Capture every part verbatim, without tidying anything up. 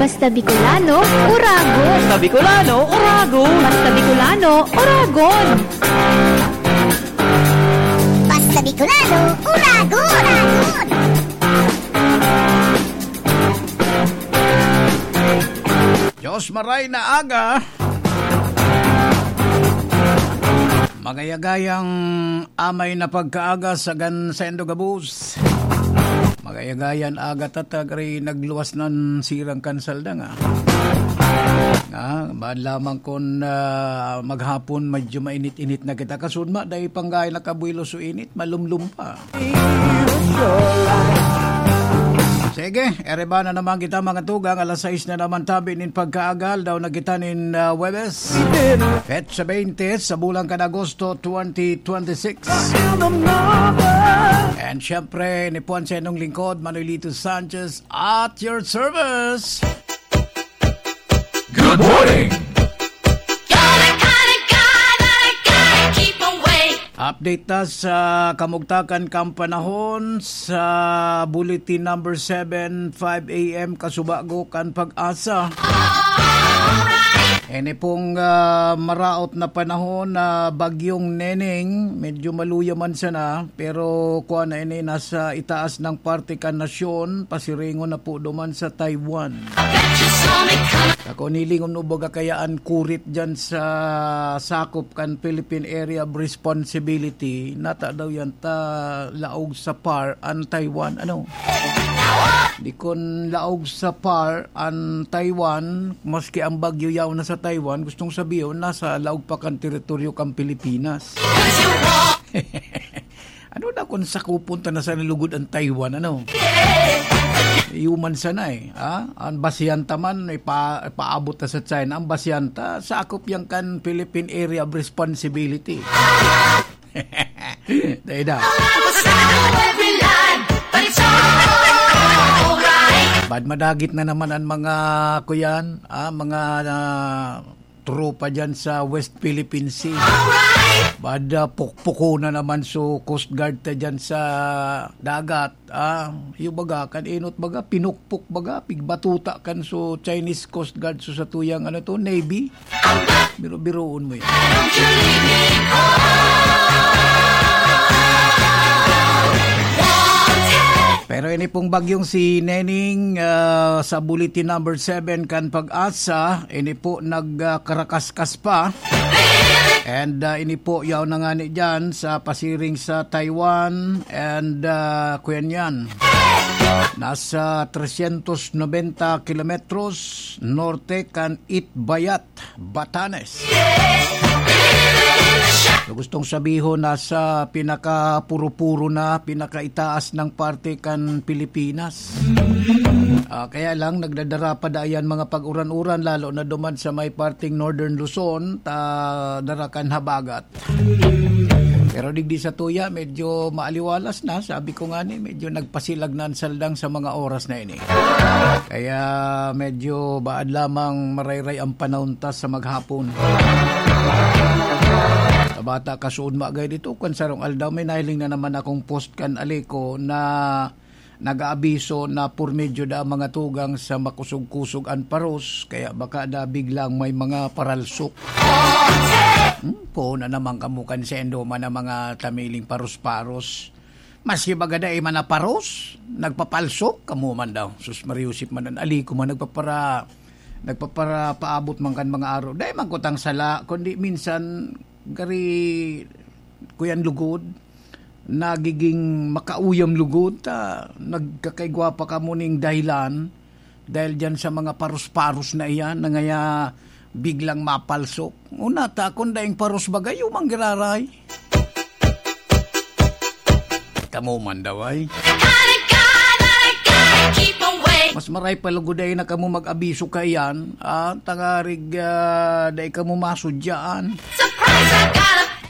Basta Bicolano, Uragon. Basta Bicolano, Uragon. Basta Bicolano, Uragon. Basta Bicolano, Uragon. Diyos maray na aga. Magayagayang amay na pagkaaga sa gan sendo gabos. Magayagayan aga tatagri nagluwas nan sirang kansal da nga. Nga, bad lamang kun, ah, maghapon medyo mainit-init na kita. Kasudma, dai panggay nakabuelo so init, malumlum pa. Sige, ereba na naman kita, mga tugang. Alas sais na naman tabi nin pagkaagal. Daw na kita nin, ah, Huwebes. Petsa twenty sa bulan kan Agosto twenty twenty-six. And syempre, ni Puan sa inyong lingkod, Manuelito Sanchez, at your service. Good morning! Update ta sa kamugtakan kan panahon sa Bulletin Number seven, five a m kasubago kan Pag-asa. Ini pong, ah, maraot na panahon na Bagyong Neneng, medyo maluya man sana, pero kuwan na ini, nasa itaas ng parte kan nasyon, pasiringon na po duman sa Taiwan. Ako, nilingon mo baga kaya an kurit dyan sa sakop kan Philippine Area of Responsibility, nata daw yan ta laog sa par an Taiwan, ano? Di kun laog sa par an Taiwan, maski ang bagyo yaw na sa Taiwan, gustong sabihin, nasa laog pa kan teritoryo kan Pilipinas. Ano na kung sakupon ta na sa lugod ang Taiwan, ano? Human sana eh, ha? Ang Basihan ta man, ipa-, ipaabot ta sa China. Ang Basihan ta, sakop yan kan Philippine Area of Responsibility. Dai da. Bad madagit na naman ang mga, kuyan, ah, mga, ah, tropa dyan sa West Philippine Sea. Bad, ah, pukpuko na naman so Coast Guard ta dyan sa dagat. Ah, yung baga, kan enot baga, pinukpok baga, pigbatuta kan so Chinese Coast Guard, so sa tuyang, ano to, Navy. Biro-biroon mo yun. Pero ini pong bagyong si Neneng, ah, sa bulletin number seven kan Pag-asa, ini po nagkarakaskas pa. And, ah, ini po, yaw na nga ni dyan sa pasiring sa Taiwan. And, ah, kuyan yan. Nasa trescientos noventa kilometros norte kan Itbayat, Batanes. So, gustong sabihon, nasa pinakapuro-puro na, pinakaitaas ng parte kan Pilipinas. Ah, kaya lang, nagdadara pa da yan mga pag-uran-uran, lalo na duman sa may parteng Northern Luzon, ta dara kan habagat. Pero digdi sa tuya, medyo maaliwalas na. Sabi ko nga ni, medyo nagpasilag na ang saldang sa mga oras na ini. Kaya medyo baad lamang marayray ang panahon ta sa maghapon. Sa bata, kasuod magay dito, kung sarong aldaw, may nahiling na naman akong post kan Alico na nag-aabiso na por medyo da ang mga tugang sa makusog-kusog an paros, kaya baka da biglang may mga paralsok. Hmm, po na naman kamo kan sendo man ang mga tamiling paros-paros. Maski baga dai man na paros, nagpapalsok, kamo man daw. Sus, Mariusip man an Alico man nagpapara-, nagpaparapaabot man kan mga aro. Dai man kutang sala, kundi minsan gari kuyan lugod, nagiging makauyam lugod, ta nagkakaigwa pa kamo ning dahilan dahil diyan sa mga paros-paros na iyan na ngaya biglang mapalsok. Una ta, kung daing paros bagay, umang giraray. Kamo man daw ay. Mas maray pa lugod ay na kamo mag-abiso kaiyan, ah, tangarig, ah, dai kamo masudyaan.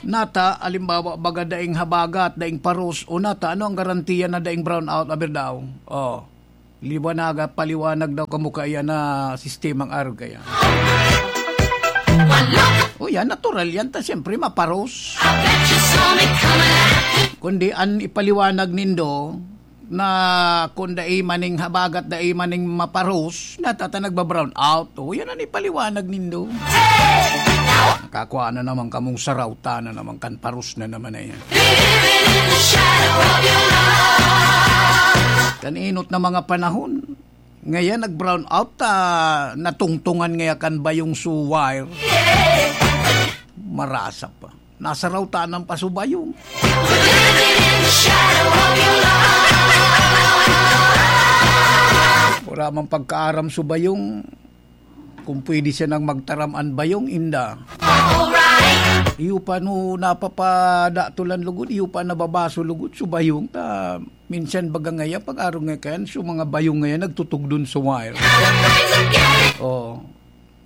Nata, alimbawa, baga daing habagat, daing paros, o nata, ano ang garantiya na daing brownout, aber daw? Oh, liwanaga, paliwanag daw kamo kaya na sistemang arog kaya. O yan, natural yan, ta siyempre maparos. Kundi an ipaliwanag nindo, na kung dai maning habagat, dai maning maparos, natata nagba-brown out. O, yan ang ipaliwanag nindo. Kakwa na naman kamong sarawta na naman kan paros na naman na yan. Kan inot na mga panahon, ngayon nag-brown out, ah, natungtungan ngaya kan bayong su wire. Marasa pa. Nasaraw tanan pa su bayong. Wala mang pagkaaram su bayong. Kung pwede siya nang magtaram an bayong, inda. Iyo pa no napapadatolan lugod, iyo pa nababaso lugod su bayong. Ta, minsan baga ngaya, pag-arog nga kayan, su mga bayong ngaya nagtutugdon sa wire. Oh.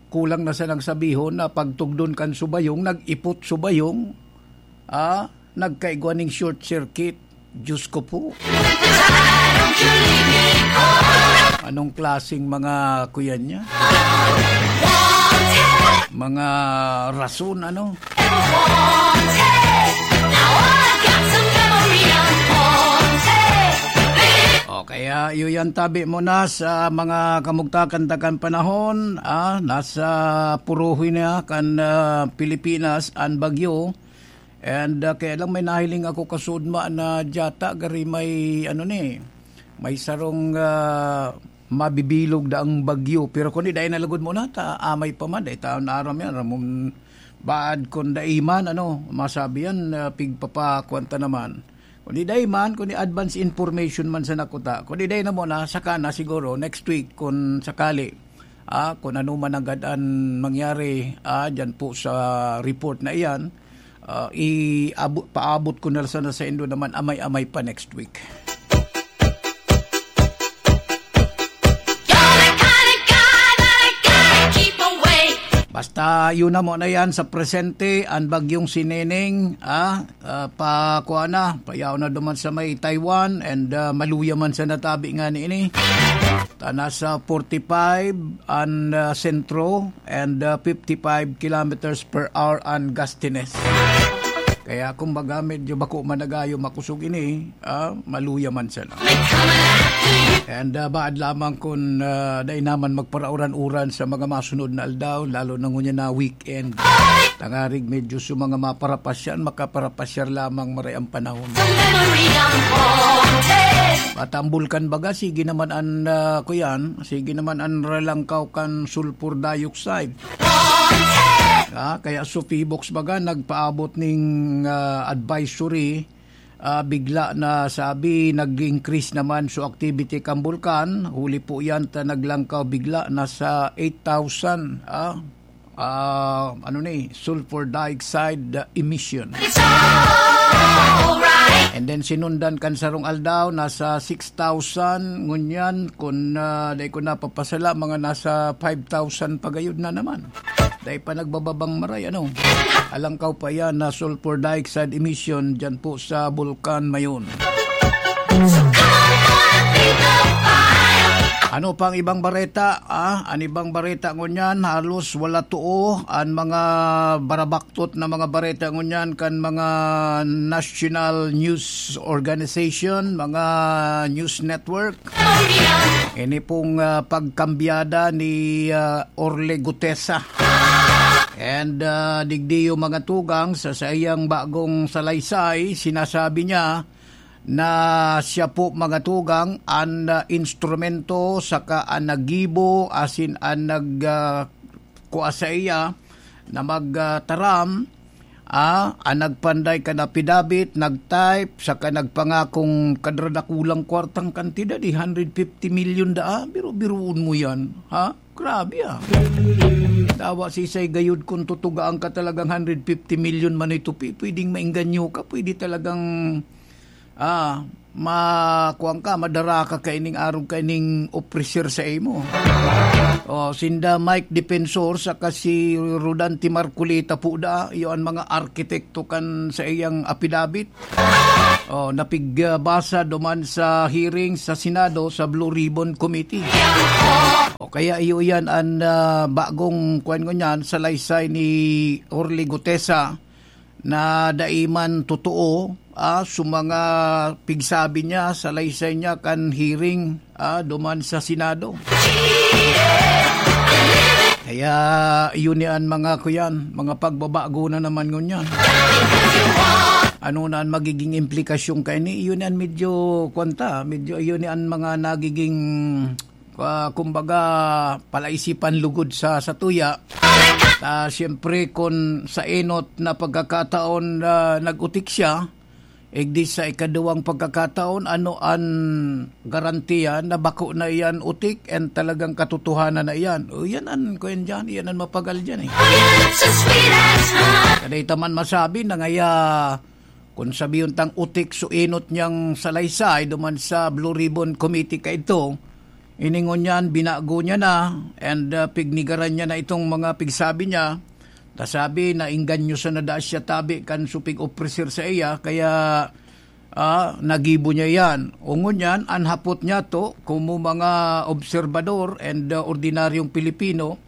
Kulang na sanang sabihon na pagtugdon kan su bayong, nag-ipot su bayong, ah, nagkaigwa ning short circuit. Diyos ko po. Anong klaseng mga kuyan niya? Mga rason, ano? O kaya, iyo yan, tabi mo na sa mga kamugtakan-takan panahon, ah, nasa purohi na kan, ah, Pilipinas an bagyo. And, ah, kaya lang may nahiling ako kasudma na dyata, gari may, ano ni, may sarong, ah, mabibilog daang bagyo. Pero kundi dai na lugod muna, ta amay pa man, dai taon na aram yan. Ramon, baad kun dai man, ano, masabi yan, ah, pigpapakuan ta naman. Kundi dai man, kundi advance information man sa nakuta. Kundi dai na muna, saka na siguro next week kun sakali. Ah, kung ano man agad an mangyari, ah, dyan po sa report na iyan, ah, iabot, paabot ko na sana sa indo naman amay-amay pa next week. Basta yun na muna yan sa presente, ang bagyong si Neneng, ah, ah, pa, kuha na, payaw na duman sa may Taiwan, and, ah, maluya man sa natabi nga ni ini. Ta nasa forty-five an, ah, sentro and, ah, fifty-five kilometers per hour an gustiness. Kaya kumbaga, medyo bako man nagayo makosog ini, ah, maluya man sana. And, ah, baad lamang kun, ah, dai naman magparauran-uran sa mga masunod na aldaw, lalo na ngunyan na weekend. Tangarig medyo sa mga maparapasyan, makaparapasyar lamang maray ang panahon. At ang bulkan baga, sige naman an, ah, kuyan, sige naman an ralangkaw kan sulfur dioxide. Ah, kaya su PHIVOLCS baga nagpaabot ning, ah, advisory, ah, bigla na sabi nag-increase naman su activity kan bulkan. Huli po yan ta naglangkaw bigla na sa eight thousand, ah, ah, ano ni, sulfur dioxide emission. And then sinundan kan sarong aldaw, nasa six thousand, ngunyan, kun, ah, dai ko napapasala, mga nasa five thousand pa gayud na naman. Dai pa nagbababang maray, ano? Alangkaw pa yan na sulfur dioxide emission dyan po sa Bulkan Mayon. Ano pang ibang bareta? Ah, an ibang bareta ngunyan, halos wala too. An mga barabaktot na mga bareta ngunyan kan mga national news organization, mga news network. Ini pong, ah, pagkambyada ni, ah, Orly Gutesa. And, ah, digdi yung mga tugang sa saiyang bagong salaysay, sinasabi niya, na siya po, mga tugang, an, ah, instrumento saka an naggibo asin an nag, ah, kua saiya na mag, ah, taram, ah, an nagpanday kan apidabit, nag-type, saka nagpangakong kadradakulang kwartang kantidad, eh, hundred fifty million daa. Biro-biroon mo yan, ha? Grabe, ah. Dawa sisay gayud kun tutugaan ka talagang hundred fifty million man ito, pi-, pwedeng maengganyo ka, pwede talagang, ah, ma-, kuwan ka, madara ka kaining arog kaining officer sa imo. Oh, sinda Mike Defensor saka si Rodante Marcoleta po da, iyo an mga arkitekto kan sa iyang apidabit. Oh, napigbasa duman sa hearing sa Senado sa Blue Ribbon Committee. O kaya iyo yan an, ah, bagong, kuwan ngunyan, salaysay ni Orly Gutesa na dai man totoo ah, sa mga pigsabi niya, salaysay niya kan hearing, ah, duman sa Senado. Kaya yun ni an mga kuyan, mga pagbabago na naman ngunyan. Ano na ang magiging implikasyon kaini? Yun ni an medyo, kwanta, medyo yun ni an mga nagiging, ah, kumbaga, palaisipan lugod sa, sa tuya. Ah, siyempre, kung sa enot na pagkakataon na nag-utik siya, igdi sa ikaduwang pagkakataon, ano an garantiya na bako na iyan utik and talagang katotohanan na iyan? O, yan an, kuyan dyan, yan an mapagal dyan eh. Kadai ta man masabi na ngaya, kung sabihon tang utik so enot niyang salaysay duman sa Blue Ribbon Committee kaidto, ini ngunyan binago niya na and, ah, pignigaran niya na itong mga pigsabi niya. Ta sabi na engganyoso na daa siya tabi kan so pig-opreser sa iya, kaya, ah, nagibo niya iyan. O ngunyan, an hapot niyato, komo mga obserbador and, ah, ordinaryong Pilipino,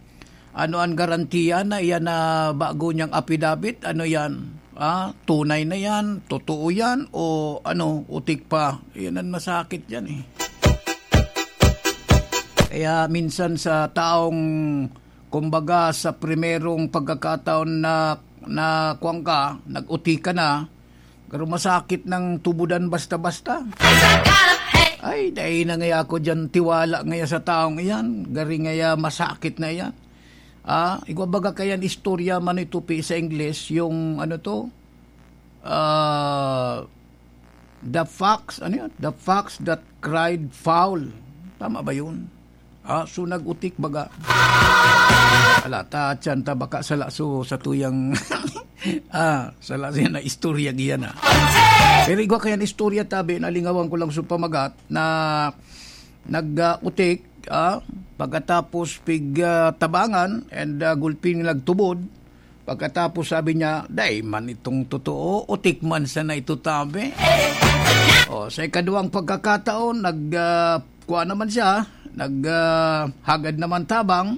ano an garantiya na iyan na bago niyang apidabit? Ano yan? Ah, tunay na yan? Totoo yan? O ano, utik pa? Yan an masakit yan eh. Kaya minsan sa taong, kumbaga, sa primerong pagkakataon na, na kuwan ka, nag-uti ka na, pero masakit ng tubudan basta-basta. Ay, dai na ngaya ako diyan tiwala ngaya sa taong iyan. Gari ngaya masakit na iyan. Ah, igwa baga kayan istorya man ito pi sa Ingles, yung ano to? Ah, the fox, ano yun? The fox that cried foul. Tama ba yun? Ah, so nag-utik baga. Ala, ta, tiyan ta, baka sala so sa tuyang, ah, sala siya na istorya giyan, ah. Pero igwa kayan istorya tabi, nalingawan ko lang sa pamagat na nag, ah, utik, ah, pagkatapos pig, ah, tabangan and, ah, gulping nagtubod. Pagkatapos sabi niya, "Dai man itong totoo, utik man sana ito tabi." O, sa ikaduwang pagkakataon, nag, ah, kuha naman siya, nag, ah, hagad naman tabang,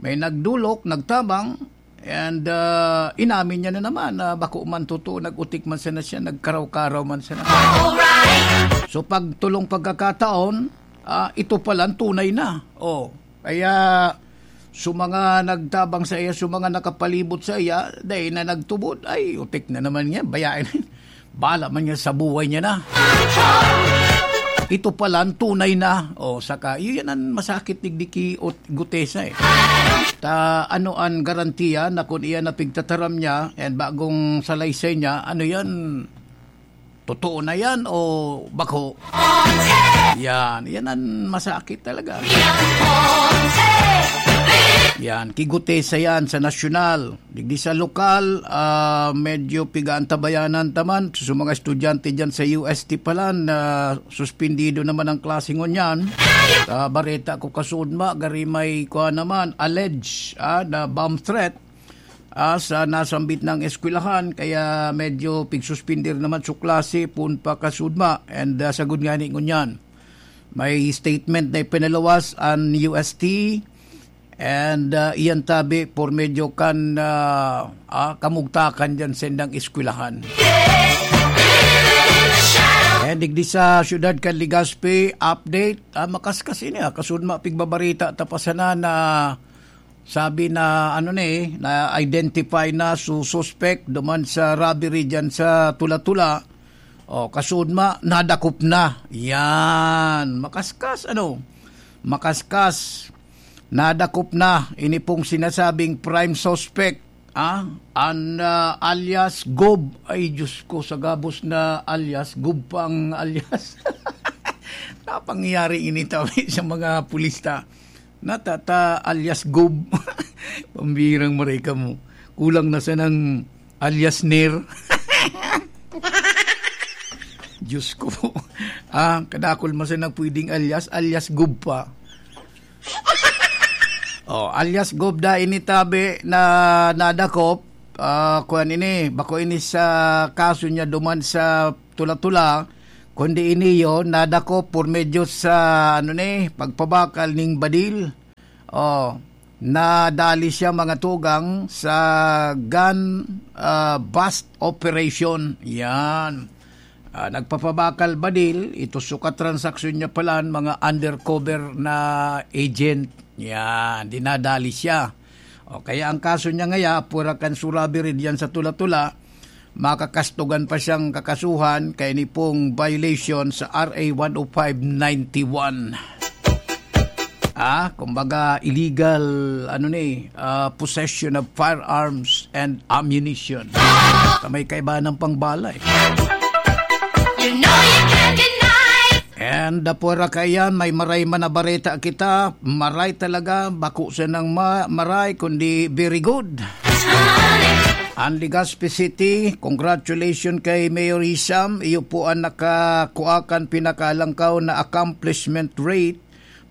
may nagdulok, nagtabang, and, ah, inamin niya na naman na bako man totoo, nag-utik man sana siya, nagkaraw-karaw man sana. So, pag tulong pagkakataon, ah, ito pala ang tunay na. O, kaya, so mga nagtabang sa iya, so mga nakapalibot sa iya, dai na nagtubod, ay, utik na naman niya, bayain. Bala man niya sa buhay niya na. Ito pala ang tunay na. O, saka, iyo yan ang masakit digdi ki ot-, gutesa eh. Ta, ano ang garantiya na kung iyan na pigtataram niya, and bagong salaysay niya, ano yan? Totoo na yan o bako? Yan, yan ang masakit talaga. Yan, kigutesa yan sa nasyonal. Digdi sa lokal, ah, medyo pigaantabayanan taman. Sa mga estudyante dyan sa U S T pala, na suspendido naman ang klase ngunyan. Ah, bareta ko kasudma, gari may kuha naman, alleged, ah, na bomb threat, ah, sa nasambit ng eskwelahan, kaya medyo pigsuspender naman sa klase, pun pa kasudma. And, ah, sagod nga ni ngunyan, may statement na ipinaluwas ang U S T, and, ah, iyan tabi por medyo kan, ah, ah, kamugtakan dyan sa indang eskwelahan. And digdi sa siyudad kan Legazpi, update, ah, makaskas ini, ah, kasudma pigbabarita ta pa sana na sabi na, ano ni, na-identify na su suspect duman sa robbery dyan sa Tula-Tula. O, kasudma, nadakop na. Yan, makaskas, ano, makaskas. Nadakop na, ini pong sinasabing prime suspect, ah, an, ah, alias Gob. Ay, Diyos ko, sa gabos na alias, Gob pa ang alias. Napangyayari ini tabi sa mga pulista. Natata alias Gob. Pambirang maray ka mo. Kulang na sanang alias Ner. Diyos ko. Ah, kadakol man sanang pwedeng alias, alias Gob pa. Oh, alias Gob da ini tabi na nadakop. Ah, kuwan ini, bako ini sa kaso niya duman sa Tula-Tula, kundi ini yon nadakop por medyo sa, ano ni, pagpabakal ning badil. Oh, nadali siya, mga tugang, sa gun, ah, bust operation. Yan. Ah, nagpapabakal badil, ito sukat transaksyon niya pala, mga undercover na agent. Yan, dinadali siya. O kaya ang kaso niya ngaya, pwera kan surabi rin yan sa tula-tula, makakastugan pa siyang kakasuhan kay ni pong violation sa R A one oh five ninety-one. Ah, kumbaga illegal, ano ni, ah, possession of firearms and ammunition. Sa may kaibahan ng pangbala eh. You know you can't deny. And, ah, pwera kaiyan, may maray man na bareta kita. Maray talaga, bako sanang ma-, maray, kundi very good. Ang Legazpi City, congratulations kay Mayor Hisham. Iyo po ang nakakuha kan pinakaalangkaw na accomplishment rate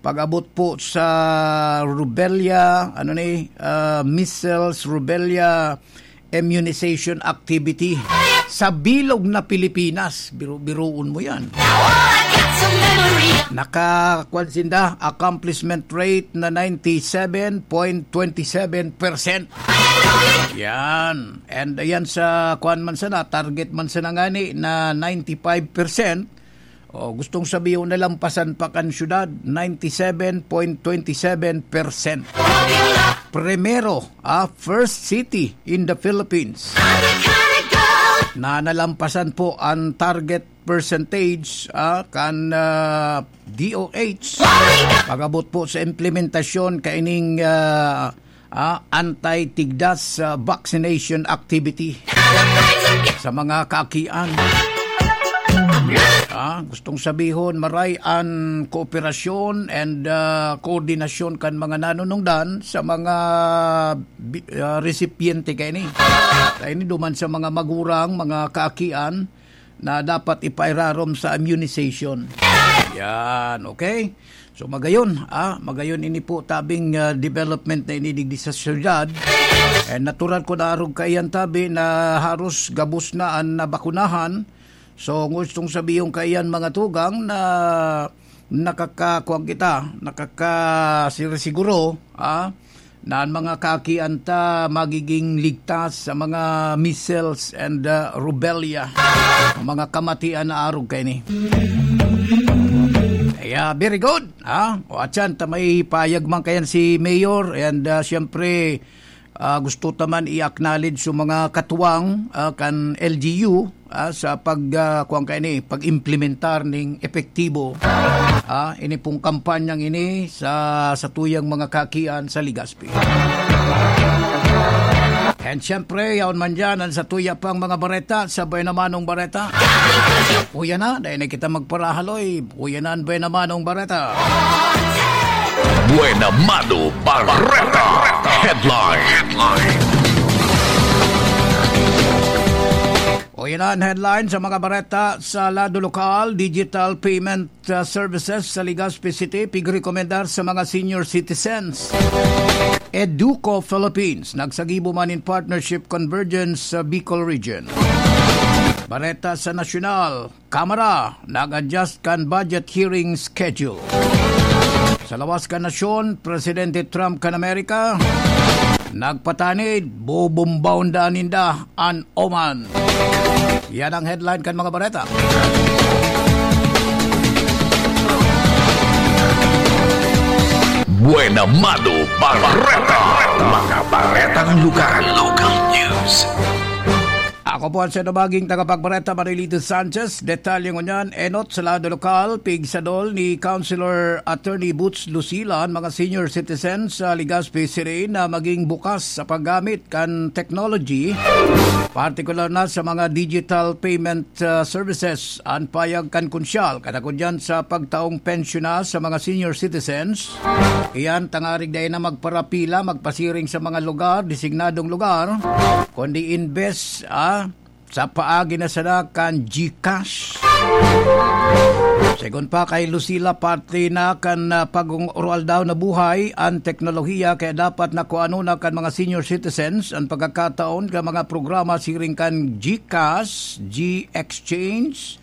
pag-abot po sa rubella, ano ni, ah, measles, rubella immunization activity sa bilog na Pilipinas. Biro-, biroon mo yan. Nakakuan sinda, accomplishment rate na ninety-seven point twenty-seven percent. Yan. And ayan sa kuan man sana, target man sana ngani na ninety-five percent. O, gustong sabihin, nalampasan pa kan syudad, ninety-seven point twenty-seven percent. Primero, ah, first city in the Philippines na nalampasan po ang target percentage, ah, kan, ah, D O H. Pag-abot po sa implementasyon kaining, ah, ah, anti-tigdas, ah, vaccination activity sa mga kaakian. Ah, gustong sabihon, maray an kooperasyon and, ah, koordinasyon kan mga nanunungdan sa mga bi-, ah, resipyente kaini. Kaini duman sa mga magurang, mga kaakian, na dapat ipairarom sa immunization. Yan, okay? So, magayon, ah, magayon ini po tabing, ah, development na ini digdi sa syudad. Eh, natural ko na arog kaiyan tabi na haros gabos na an nabakunahan. So, gustong sabihon kaiyan mga tugang na nakakakuwang kita, nakakasirisiguro, ah, na an mga kaakian ta magiging ligtas sa mga measles and, ah, rubella, mga kamatian na arog kaini. Yeah, very good, ha? O, atyan, ta may payag man kayan si Mayor, and, ah, siyempre, ah, gusto ta man i-acknowledge yung mga katuwang, ah, kan L G U, ah, sa pag, ah, kuwan kaini, pag-implementar ning epektibo, ah, ini pong kampanyang ini sa, sa tuyang mga kaakian sa Legazpi. And siyempre, yaon man dyan ang sa tuya pang mga bareta, sa Buena Manong Bareta. Uya na, dahil na kita magparahaloy. Uya na ang Buena Manong Bareta. Buena Mano Bareta. Headline. Headline. O, yan ang headline sa mga bareta sa lado lokal. Digital payment, uh, services sa Legazpi City, pigrekomendar sa mga senior citizens. Educo Philippines, nagsagibo man in partnership convergence sa Bicol Region. Bareta sa nasyonal, Kamara, nag-adjust kan budget hearing schedule. Sa lawas kan nasyon, Presidente Trump kan Amerika, nagpatanid, bobombahon daa ninda an Oman. Yan ang headline kan mga bareta. Buena Mano Bareta. Mga baretang lugar. Local news. Ako po ang sinubaging tagapagbareta, Marilito Sanchez. Detalye ngunyan, enot sa lado lokal, pigsadol ni Councilor Attorney Boots Lucila an mga senior citizens sa Legazpi City na maging bukas sa paggamit kan technology, partikular na sa mga digital payment, uh, services. An payag kan konsyal, kadakod yan sa pagtaong pensyon na sa mga senior citizens. Iyan, tangarig dai na magparapila, magpasiring sa mga lugar, designadong lugar, kundi imbes, ah, sa paagi na sana kan GCash. Segun pa kay Lucila, parte na kan, ah, pag-oroaldaw na buhay an teknolohiya, kaya dapat na kuanon na kan mga senior citizens an pagkakataon kan mga programa siring kan GCash, G-Exchange,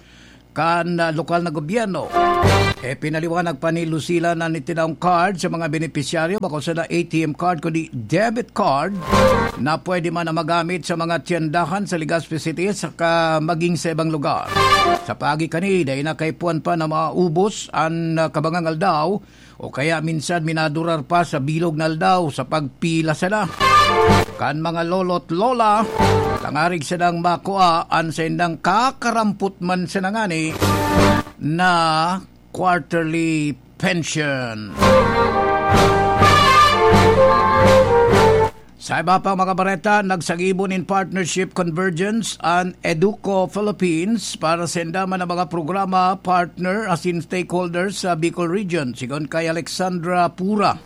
kan, ah, lokal na gobyerno. E, pinaliwanag pa ni Lucila na nitinaong card sa mga benepisyaryo, bako sana A T M card, kundi debit card, na pwede man na magamit sa mga tiyandahan sa Legazpi City saka maging sa ibang lugar. Sa paagi kani, dai na kaipuhan pa na maubos an, ah, kabangang aldaw o kaya minsan minadurar pa sa bilog na aldaw sa pagpila sana kan mga lolo't lola, tangarig sanang makua an saindang kakarampot man sana ngani na quarterly pension. Sa iba pang mga bareta, nagsagibo nin partnership convergence an Educo Philippines para sa indaman na mga programa, partner asin stakeholders sa Bicol Region, sigon kay Alexandra Pura,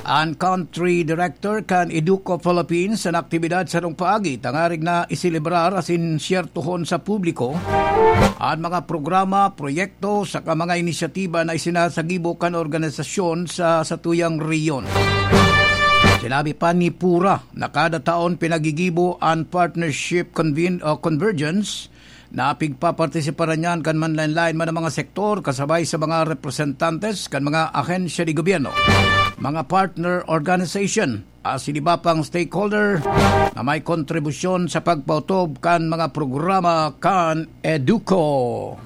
an country director kan Educo Philippines. An aktibidad sarong paagi tangarig na iselebrar asin siyertohon sa publiko an mga programa, proyekto, saka mga inisyatiba na isinasagibo kan organisasyon sa satuyang rehiyon. Sinabi pa ni Pura na kada taon pinagigibo an partnership conven-, o convergence na pigpapartisiparan niyan kan manlaen-laen man ang mga sektor kasabay sa mga representantes kan mga ahensya de gobyerno, mga partner organization, asin iba pang stakeholder na may kontribusyon sa pagpautob kan mga programa kan Educo.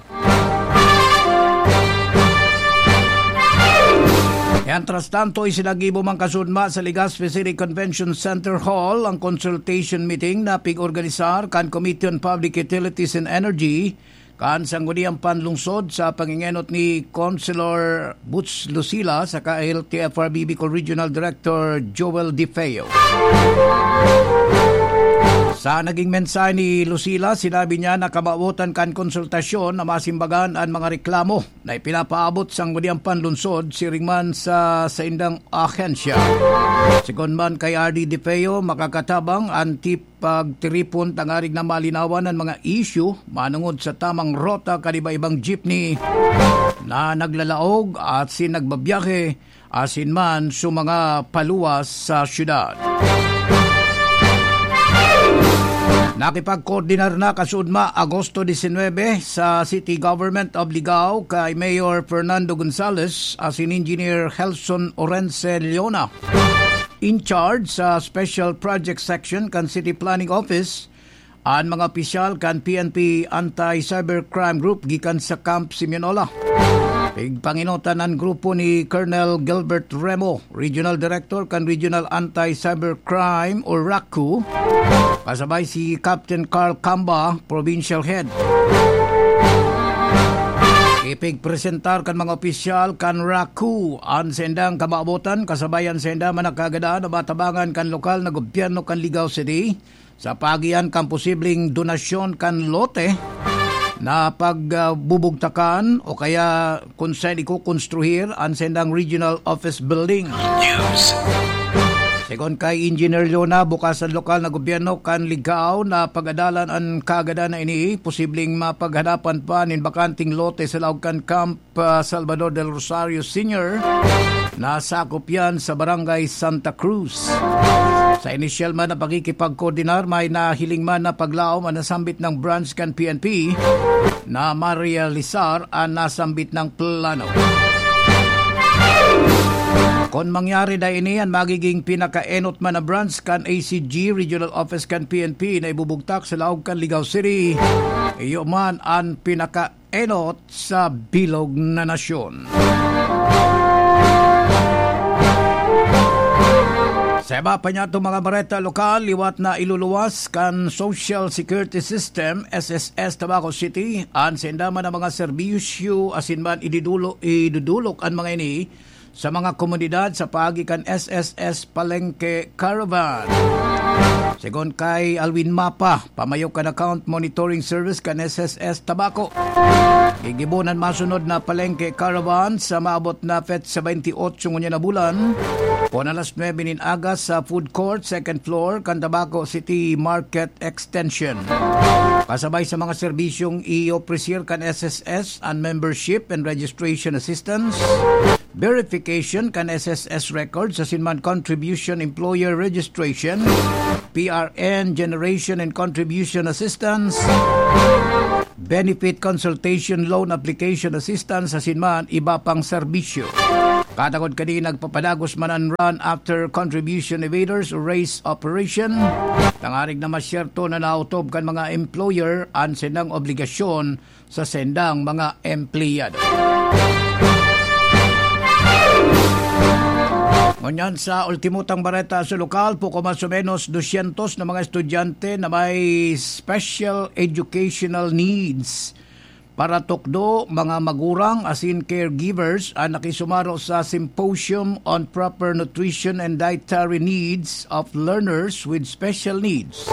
Mientras tanto, isinagibo man kasudma sa Legazpi City Convention Center Hall ang consultation meeting na pig-organisar kan Committee on Public Utilities and Energy kan Sangguniang Panlungsod sa pangingenot ni Councilor Boots Lucila saka L T F R B Bicol Regional Director Joel De Feo. Sa naging mensahe ni Lucila, sinabi niya na kamawotan kan konsultasyon na masimbagan an mga reklamo na ipinapaabot sa Sangguniang Panlungsod siring man sa saindang ahensya. Sigon man kay R D De Feo, makakatabang an tip pagtiripon tangarig na malinawan an mga isyu manungod sa tamang rota kan iba-ibang jeepney na naglalaog asin nagbabiyahe asin man sa mga paluwas sa syudad. Nakipagkoordinar na kasudma Agosto disinwebe sa City Government of Ligao kay Mayor Fernando Gonzales asin Engineer Helson Orense Leona, in charge sa Special Project Section kan City Planning Office, an mga opisyal kan P N P Anti-Cybercrime Group gikan sa Camp Simeonola. Pigpangenotan an grupo ni Colonel Gilbert Remo, Regional Director kan Regional Anti-Cybercrime o RACU, kasabay si Captain Carl Camba, Provincial Head. Ipigpresentar kan mga opisyal kan RACU an saindang kamawotan kasabay an saindang mga kaagadan na matabangan kan lokal na gobyerno kan Ligao City sa paagi kan posibleng donasyon kan lote na pagbubugtakan o kaya kun saan ikokonstruhir an saindang regional office building. News. Sigon kay Engineer Leona, bukas an lokal na gobyerno kan Ligao na pag-adalan an kaagadan na ini, posibleng mapaghanapan pa nin bakanteng lote sa laog kan Camp, ah, Salvador del Rosario Senior. Nasakop yan sa Barangay Santa Cruz. Sa inisyal man na pakikipagkoordinar, may nahiling man na paglaom ang nasambit ng branch kan P N P na marealisar ang nasambit ng plano. Kun mangyari na ini, an magiging pinakaenot man na branch kan A C G Regional Office kan P N P na ibubugtak sa laog kan Ligao City, iyo man an pinakaenot sa bilog na nasyon. Sa iba pa niya itong mga bareta lokal, liwat na iluluwas kan Social Security System, S S S, Tabaco City, an sainda man na mga serbisyo asin man ididulo-, idudulok an mga ini sa mga komunidad sa paagi kan S S S Palengke Caravan. Sigon kay Alwin Mapa, pamayo kan Account Monitoring Service kan S S S Tabaco, gigibo an masunod na Palengke Caravan sa maabot na petsa twenty-eight ngunyan na bulan, kun alas nuebe nin aga sa food court, second floor, kan Tabaco City Market Extension. Kasabay sa mga serbisyong i-ofrecer kan S S S, an membership and registration assistance, verification kan S S S records asin man contribution employer registration, P R N generation and contribution assistance, benefit consultation, loan application assistance asin man iba pang serbisyo. Katagod kani, nagpapadagos man an run after contribution evaders o race operation, tangarig na masyerto na naotob kan mga employer an saindang obligasyon sa saindang mga empleyado. Ngunyan, sa ultimo tang bareta sa lokal, poco mas o menos dosyentos na mga estudyante na may special educational needs para tukdo, mga magurang asin caregivers an nakisumaro sa Symposium on Proper Nutrition and Dietary Needs of Learners with Special Needs.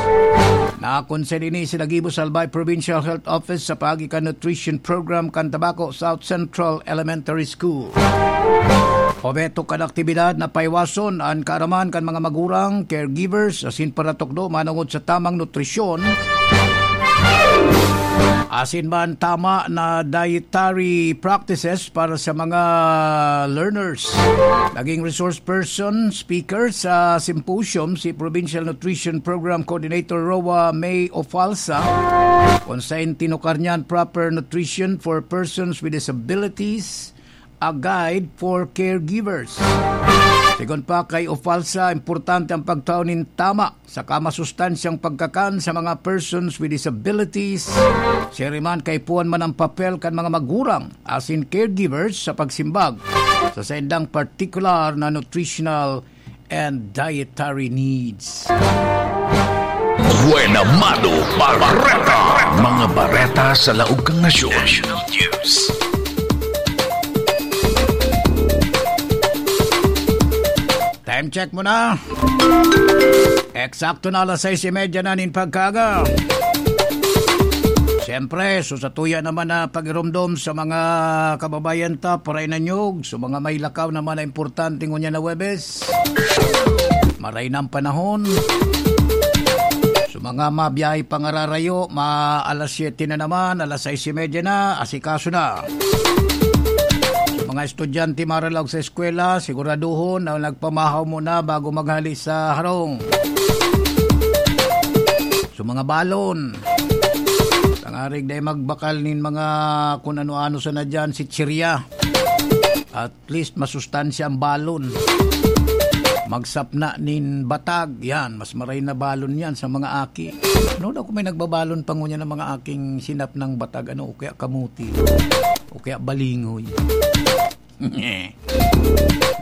Nakonsen ini si Nagibo sa Albay Provincial Health Office sa paagi kan nutrition program kan Tabaco South Central Elementary School. Obheto kan aktibidad na paiwason an kaaraman kan mga magurang, caregivers, asin paratukdo manongod sa tamang nutrisyon, asin man tama na dietary practices para sa mga learners. Naging resource person, speaker sa symposium si Provincial Nutrition Program Coordinator Roa May Ofalsa, kung sain tinukar niyan Proper Nutrition for Persons with Disabilities, a guide for caregivers. Sigon pa kay Ofalsa, importante ang pagtao nin tama saka masustansyang pagkakan sa mga persons with disabilities. Siring man, kaipuhan man ang papel kan mga magurang asin caregivers sa pagsimbag sa saindang partikular na nutritional and dietary needs. Buena Mano Bareta. Mga bareta sa laog kan nasyon. National News. Time check muna. Eksakto na alas sais y media na nin pagkaaga. Siyempre, so, satuya naman na pagiromdom sa mga kababayan ta, paray na nyog, so, mga may lakaw naman na importante ngunyan na Huwebes. Maray na ang panahon. So, mga mabiyahe pa ngararayo, ma-, alas siyete na naman, alas sais y media na, asikaso na. Sa mga estudyante maralaog sa eskwela, siguraduhon na nagpamahaw muna bago maghali sa harong. So, mga balon, tangarig dai magbakal nin mga kun ano-ano sana dyan, chichirya. At least, masustansya ang balon. Magsapna nin batag, yan, mas maray na balon yan sa mga aki. Ano daw kung may nagbabalon pa ngunyan ng mga aking sinapnang batag, ano, o kaya kamuti, o kaya balingoy?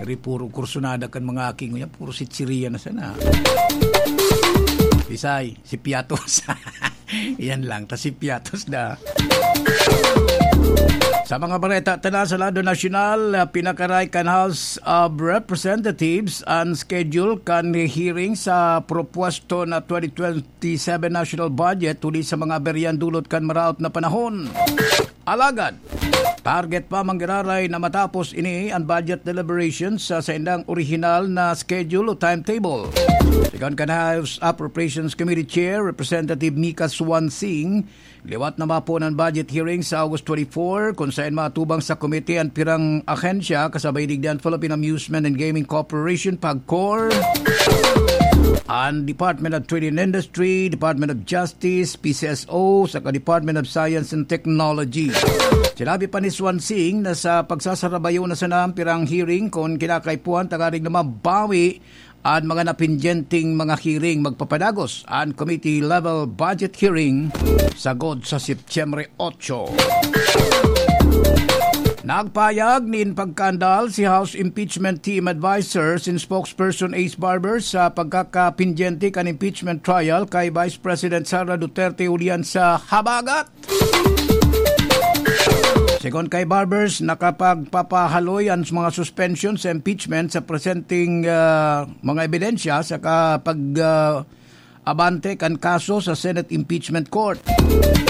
Ri puro kursunada kan mga aki ngunyan, puro chichirya na sana. Bisay, si Piatos. Yan lang, ta si Piatos na. Sa mga bareta ta na sa lado nasyonal, ah, pinakaray kan House of Representatives an schedule kan hearing sa propuesto na twenty twenty-seven national budget huli sa mga aberyan dulot kan maraot na panahon. Alagad, target pa man giraray na matapos ini an budget deliberations sa saindang orihinal na schedule o timetable. Sigon kan House Appropriations Committee Chair, Representative Mika Swansing, liwat na mapon an budget hearing sa August twenty-four, kun saen maatubang sa komite an pirang ahensya, kasabay digdi an Philippine Amusement and Gaming Corporation, PAGCOR, an Department of Trade and Industry, Department of Justice, P C S O, saka Department of Science and Technology. Sinabi pa ni Swansing na sa pagsasarabayo na sana an pirang hearing kun kinakaipuhan, tangarig na mabawi an mga napindyenteng mga hearing, magpapadagos an committee level budget hearing sagod sa Setyembre otso. Nagpahayag nin pagkaandal si House Impeachment Team Advisor sin Spokesperson Ace Barber sa pagkakapindyente kan impeachment trial kay Vice President Sara Duterte ulian sa habagat. Sigon kay Barbers, nakapagpapahaloy an mga suspension sa impeachment sa presenteng, ah, mga ebidensya sa kapag, ah, abante kan kaso sa Senate Impeachment Court.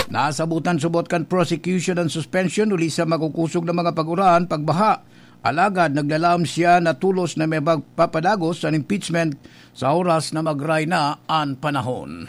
Nasabutan subot kan prosecution an suspension huli sa makukosog na mga pag-uran, pagbaha. Alagad naglalam siya na tolos na may magpapadagos sa impeachment sa oras na magray na an panahon.